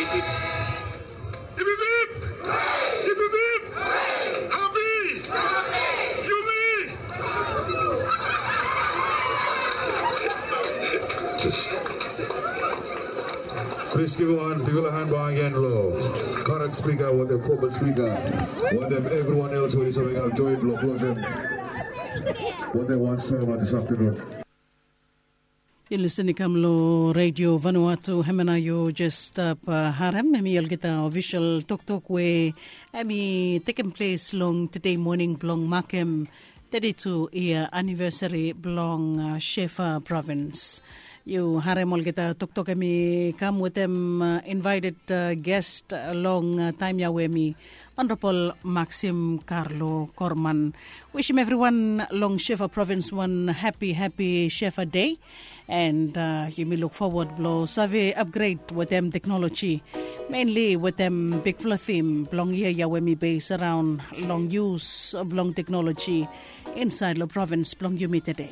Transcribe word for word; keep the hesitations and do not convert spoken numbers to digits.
Ipipip! Ipipip! Happy! Yumi! Plis givim wan bigfala han bakegen long current spika wetem format spika wetem evriwan els we yu save kam join long blosem wetem wan seremoni dis aftanun. Yu lisin i kam long Radio Vanuatu, hemia nao yu jes stap harem hemi olgeta ofisol toktok we hemi tekem ples long tede moning blong makem teti tu yia anivesari blong Shefa provins. Yu harem olgeta toktok hemi kam wetem invaeted gest long taem ya we hemi Honorable Maxim Carlo Korman. Wishim evriwan long Shefa provins wan hapi hapi Shefa dei. And yumi luk fowod blong save apgred wetem teknoloji, menli wetem bigfala tim blong yia ya we hemi bes araon long yus blong teknoloji insaed long provins blong yumi tede.